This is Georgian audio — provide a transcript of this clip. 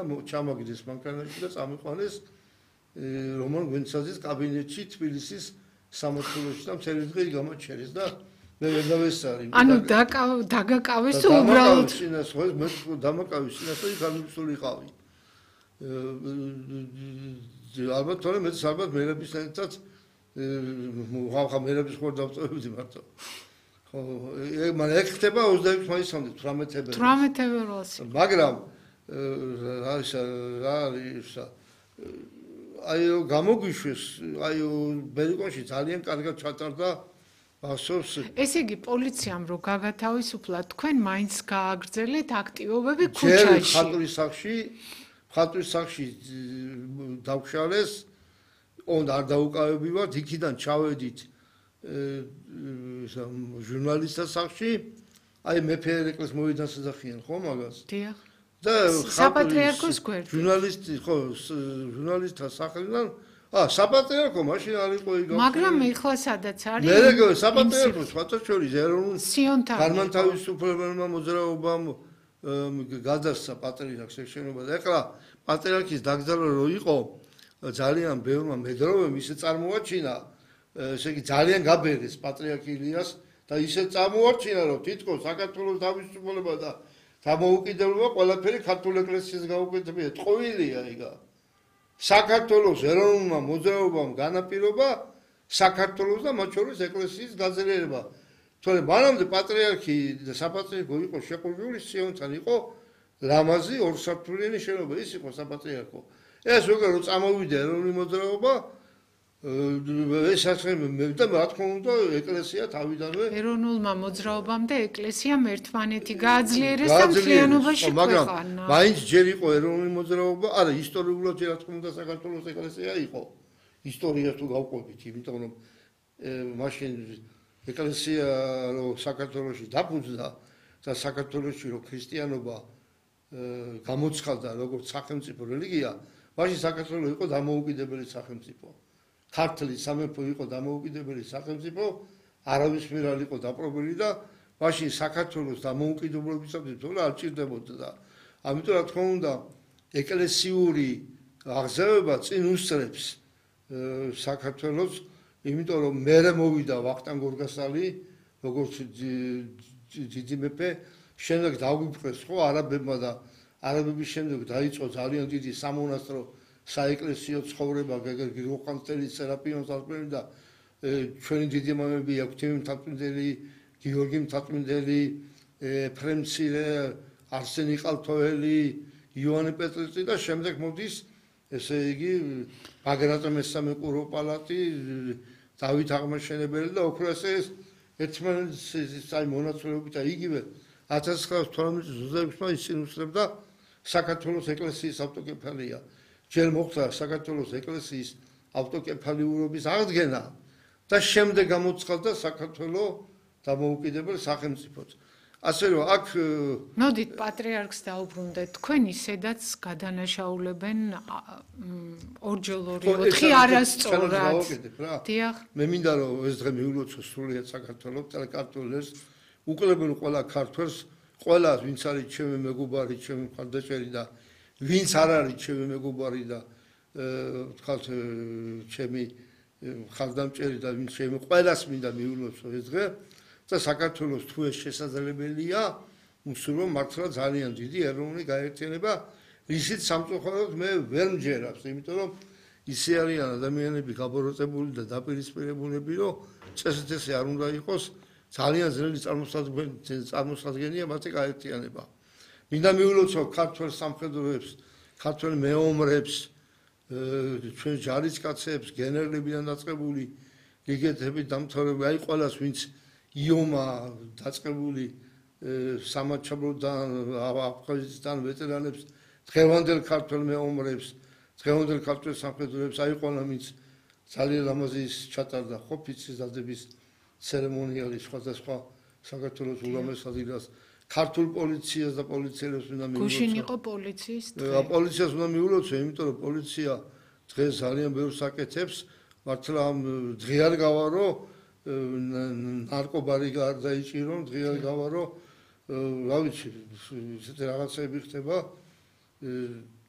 და ჩამაგდეს მანქანაში და წამიყვანეს რომან გვენცაძის კაბინეტში თბილისის სამართლოში და მთელი დღე გამაჩერეს და მე ვერ დავესწარი. ანუ დაგაკავეს თუ უბრალოდ მე დამაკავის წინასწარ იქ გამისულიყავი. ალბათ თორე მე ალბათ მერებისთანაც ხა მერების ხوار დავწევდი მარტო. ხო, მაგრამ ეგ ხდება 26 მაისამდე 18 ფევრალს. მაგრამ აი გამოგვიშვეს, აი ბერიკონში ძალიან კარგად ჩატარდა ასოს. ესე იგი პოლიციამ რო გაგათავისუფლა, თქვენ მაინც გააგრძელეთ აქტივობები ქუჩაში. ხატვის სახში დავშალეს, უნდა არ დაუკავებივართ, იქიდან ჩავედით ჟურნალისტთა სახში, აი მეფე ერეკლეს მოიდანსახიან ხო მაგას? დიახ. და საპატრიარქოს გვერდით. ჟურნალისტი ხო, ჟურნალისტთა სახლიდან საპატრიარქო მაშინ არ იყო იგავ. მაგრამ ეხლა სადაც არის? მე საპატრიარქო სხვათა შორის ეროვნულ სიონთან. განმანთავისუფლებელმა მოძრაობამ გადასცა პატრიარქს შენობა და ეხლა პატრიარქის დაკრძალვა რო იყო ძალიან ბევრმა მედროვემ ისე წარმოაჩინა, ესე იგი ძალიან გაბერეს პატრიარქ ილიას და ისე წარმოაჩინა რომ თითქოს საქართველოს თავისუფლება და დამოუკიდებლობა ყველაფერი ქართულ ეკლესიას გაუკეთებია. ტყუილია იგა. საქართველოს ეროვნულმა მოძრაობამ განაპირობა საქართველოს და მათ შორის ეკლესიის გაძლიერება. თორემ მანამდე პატრიარქი და საპატრიარქო იყო შეყურებული სიონთან იყო ლამაზი ორსართულიანი შენობა, ის იყო საპატრიარქო. ეს როგორ რომ წამოვიდა ეროვნული მოძრაობა ეს ასე და რა თქმა უნდა ეკლესია თავიდანვე ეროვნულმა მოძრაობამ და ეკლესიამ ერთმანეთი გააძლიერეს და მთლიანობაში ქვეყანა. მაგრამ მაინც ჯერ იყო ეროვნული მოძრაობა, არა ისტორიულად რა თქმა უნდა საქართველოს ეკლესია იყო. ისტორიას თუ გავყვებით, იმიტომ რომ მაშინ ეკლესია რო საქართველოში დაფუძნდა და საქართველოში რო ქრისტიანობა გამოცხადდა როგორც სახელმწიფო რელიგია, მაშინ საქართველო იყო დამოუკიდებელი სახელმწიფო. ქართლის სამეფო იყო დამოუკიდებელი სახელმწიფო, არავის მიერ არ იყო დაპყრობილი და მაშინ საქართველოს დამოუკიდებლობისათვის თორე არ ჭირდებოდა და ამიტომ რა თქმა უნდა ეკლესიური აღზევება წინ უსწრებს საქართველოს, იმიტომ რომ მერე მოვიდა ვახტანგ გორგასალი, როგორც დიდი მეფე, შემდეგ დაგვიფრეს ხო არაბებმა და არაბების შემდეგ დაიწყო ძალიან დიდი სამონასტრო საეკლესიო ცხოვრება გრიგოლ სერაპიონის თაყვანი და ჩვენი დიდი მამები ექვთიმე მთაწმინდელი, გიორგი მთაწმინდელი, ეფრემ მცირე, არსენი ყალთოელი, იოანე პეტრიწი და შემდეგ მოდის ესე იგი ბაგრატ მესამე კურო-პალატი, დავით აღმაშენებელი და ოქროეს ერთმანეთის აი მონაცვლეობით და იგივე 1918 წელს ისინი უსწრებდა საქართველოს ეკლესიის ავტოკეფალია. ჯერ მოხდა საქართველოს ეკლესიის ავტოკეფალიურობის აღდგენა და შემდეგ გამოცხადდა საქართველოს დამოუკიდებელ სახელმწიფოდ. ასე რომ აქ მოდით პატრიარქს დაუბრუნდეთ. თქვენ ისედაც გადანაშაულებენ ორჯერ 4 არასწორად. დიახ. მე მინდა რომ ეს დღე მიულოცო სრულიად საქართველოს კათოლიკეს უკლებენ ყველა ქართველს, ყველა ვინც არის ჩემი მეგობარი, ჩემი მხარდაჭერი და ვინც არ არის ჩემი მეგობარი და ვთქვათ ჩემი მხარდამჭერი და ვინც ჩემი ყველას მინდა მიულოცო ეს დღე და საქართველოს თუ ეს შესაძლებელია, უსურვო მართლა ძალიან დიდი ეროვნული გაერთიანება, ისიც სამწუხაროდ მე ვერ მჯერავს, იმიტომ რომ ისე არიან ადამიანები გაბოროტებული და დაპირისპირებულები, რომ წესეთესე არ უნდა იყოს, ძალიან ძნელი წარმოსადგენია მათი გაერთიანება. მინდა მიულოცო ქართველ სამხედროებს, ქართველ მეომრებს, ჩვენ ჯარისკაცებს, გენერლებიდან დაწყებული, იგეთები დამთავრებული, აი ყველას ვინც იომა დაწყებული სამაჩაბლოდან, აფხაზეთიდან ვეტერანებს, დღევანდელ ქართველ მეომრებს, დღევანდელ ქართველ სამხედროებს, აი ყველა ვინც ძალიან ლამაზი ჩატარდა ხოფიცის დადების ცერემონიალი სხვადასხვა საქართველოს ულამაზ ადგილას, ქართულ პოლიციას და პოლიციელებს მინდა მიულოცო. გუშინ იყო პოლიციის დღე. პოლიციას უნდა მიულოცო, იმიტომ რომ პოლიცია დღეს ძალიან ბევრს აკეთებს, მართლა დღე არ გავა რომ ნარკობარი არ დაიჭირო, დღე არ გავა რომ რა ვიცი, ესეთი რაღაცები ხდება